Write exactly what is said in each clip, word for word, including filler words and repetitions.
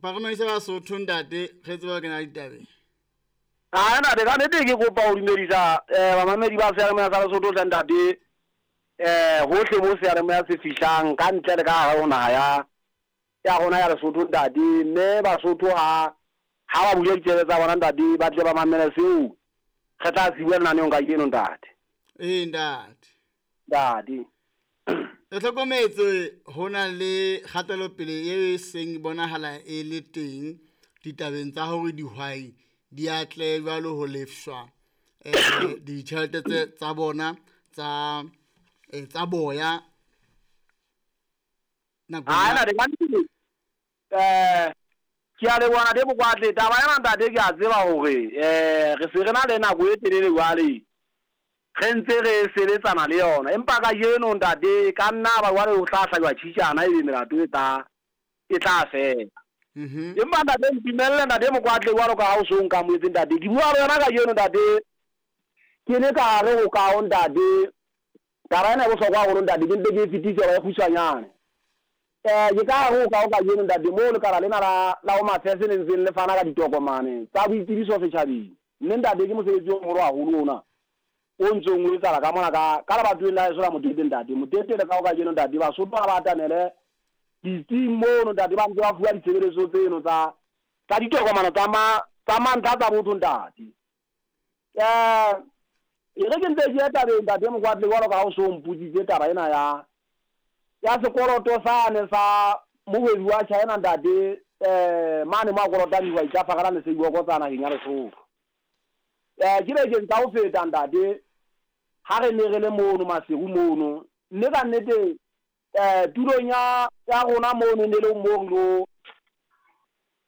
Ba re dumedise Basotho ntate, re tsebe ho kena ditabeng. Ah ntate, ka nnete ke kopa ho dumedisa eh bamamedi ba seyalemoya sa Lesotho hle ntate, eh hohle mo seyalemoya se fihlang ka ntle le ka hare ho naha ya ya rona ya Lesotho ntate. Mme Basotho ha ha ba bule ditsebe tsa bona ntate, ba tle ba mamele seo re tla se bua lenaneong kajeno ntate. Ee ntate. Ntate. Re hlokometse ho na le kgatelopele e seng bonahala e le teng ditabeng tsa hore dihwai di atle jwalo ho lefshwa eh ditjhelete tse tsa bona tsa eh, tsa boya nakong Ha ya ntate, ka nnete eh ke a leboha ntate Mokwatle. Taba ena ntate ke a tseba hore eh re se re na le nako e telele jwale re ntse re sebetsana le yona, empa kajeno ntate ka nna ba jwale ho tla hlajwa tjhitjana ebe melato e tla e tla fela. Mhm. Empa ntate ntumelle ntate Mokwatle, jwalo ka ha o so nkamohetse ntate, ke bua le yona kajeno ntate, ke le ka hare ho kaho ntate. Taba ena e bohlokwa haholo ntate, ke mpe ke e fetise hore e kgutshwanyane. Eh ke ka hare ho kaho kajeno ntate, moo lekala lena la la Home Affairs le ntseng le fana ka ditokomane tsa boitsebiso setjhabeng. Mme ntate ke mosebetsi o moholo haholo ona o ntsong o etsahala ka mona ka ka lebatoweng la heso la Motete ntate. Motete le kaho kajeno ntate, Basotho ha ba atamele ditsing mono ntate, ba ntse ba fuwa ditshebeletso tseno tsa tsa ditokomane tsa ma tsa mantlha tsa botho ntate. Eh e re ke ntse ke ya tabeng ntate Mokwatle, jwalo ka ha o so mpotsitse taba ena ya ya sekoloto sane sa mohwebi wa China ntate, eh mane mo a kolotang dihwai tsa Fakala le Seiboko tsa naheng ya Lesotho. Eh ke bekeng tsa ho feta ntate, ha re ne re le mono Maseru mono, mme ka nnete eh tulong ya ya rona mono ne le mo re ilo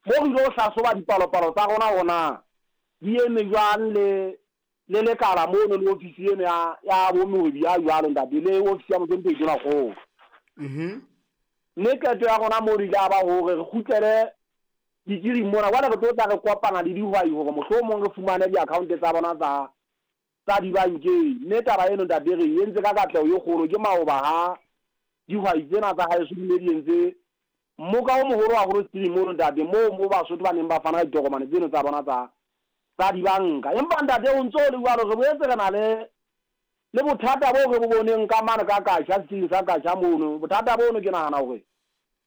mo re ilo hlahloba dipalopalo tsa rona hore na di eme jwang le le lekala mono le ofisi eno ya ya bo mohwebi ya jwalo ntate, le ofisi ya Mohlomphehi Tonakgolo. Mhm. Mme qeto ya rona mono ile ya ba hore re kgutlele ditsiring mona, jwale re tlo tla re kopana le dihwai hore mohlomong re fumane di-account tsa bona tsa tsa dibankeng. Mme taba eno ntate re e entse ka katleho e kgolo. Ke maoba ha dihwai tsena tsa haeso di ne di entse mmoka o moholo haholo setsiring mono ntate, moo mo Basotho ba neng ba fana ka ditokomane tseno tsa bona tsa tsa dibanka. Empa ntate o ntso le jwalo, re boetse re na le le bothata bo re bo boneng ka mane ka Kasha, setsiring sa Kasha mono. Bothata bono ke nahana hore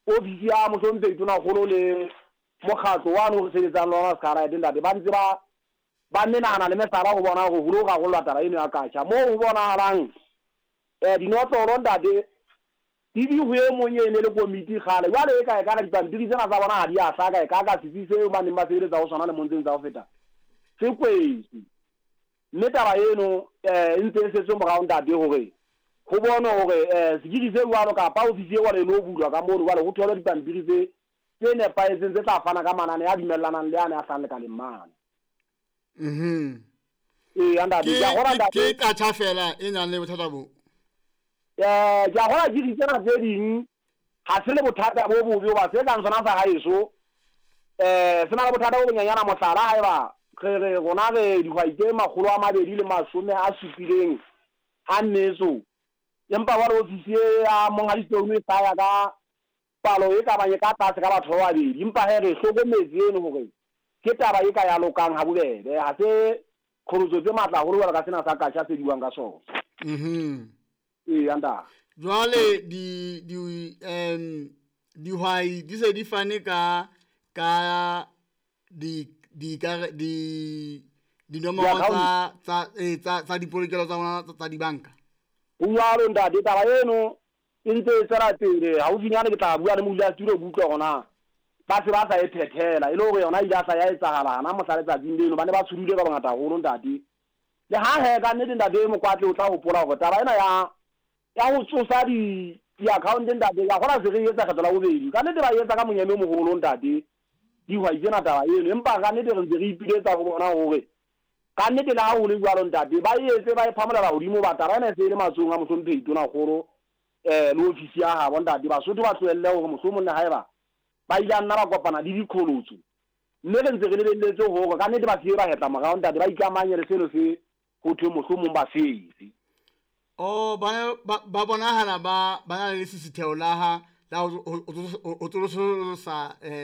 ofisi ya Mohlomphehi Tonakgolo le mokgatlo wane o re sebetsang le ona Scarlet ntate, ba ntse ba ba menahana le mehlala ho bona hore ho lo rarollwa taba eno ya Kasha. Moo ho bonahalang eh dinotlolo ntate di di ho e mong e ne le komiti kgale, jwale e ka e ka dipampiri tsena tsa bona ha di a hlaka, e ka ka setsi seo ba neng ba sebeletsa ho sona lemong tseno tsa ho feta se kwetswe. Mme taba eno eh e ntse e setswe morao ntate, hore ho bonwe hore eh sekiri se jwalo kapa ofisi e jwalo e lo bulwa ka mono, jwale ho tholwe dipampiri tse tse nepahetseng tse tla fana ka manane a dumellanang le ane a hlahang lekaleng mane. Mhm. Ee ntate, Ke ke a kgolwa ke ntate. ke katjha fela e nang le bothata bo. Eh ke a kgolwa ke tsena tse ding ha se le bothata bo bobe, hoba se kang sona sa haeso eh se na le bothata bo bonyenyana. Mohlala, haeba re re rona re dihwai tse makgolo a mabedi le mashome a supileng a metso, empa jwale ofisi e ya monghadi Stone e hlaya ka palo e ka bang e ka tlase ka batho ba babedi. Empa hee re hlokometse eno hore ke taba e ka ya lokang ha bobebe, ha se qholotso tse matla haholo jwalo ka sena sa Kasha se buang ka sona. Mhm. Ee ntate. Jwale di di em dihwai di se di fane ka ka di di ka di dinomoro Di-account. tsa tsa eh tsa tsa dipolokelo tsa bona tsa tsa dibanka. Ho jwalo ntate, taba eno e ntse e tswela pele. Haufinyane ke tla bua le modulasetulo ke utlwe hore na ba se ba sa e phethela, e le hore yona ile ya hla ya etsahala hana mohla letsatsing leno. Ba ne ba tshohile ka bongata haholo ntate. Le ha he ka nnete ntate Mokwatle, o tla hopola hore taba ena ya ya ho tsosa di di-account ntate, ka kgola se re etsa kgetlo la bobedi. Ka nnete ba etsa ka monyeme o moholo ntate dihwai tsena taba eno, empa ka nnete re ntse re ipiletsa ho bona hore ka nnete le ha ho le jwalo ntate, ba etse ba e phamolela hodimo, ba taba ena e se e le matsohong a Mohlomphehi Tonakgolo eh le ofisi ya habo ntate. Basotho ba tlohelle hore mohlomong le haeba ba ile a nna ba kopana le diqholotso, mme re ntse re lebelletse hore ka nnete ba se ba hetla morao ntate, ba ikamanye le seno se ho thwe mohlomong ba se etse. Oh, ba ba ba bonahala ba ba na le lesisitheho la ha la ho ho ho tsosolosa eh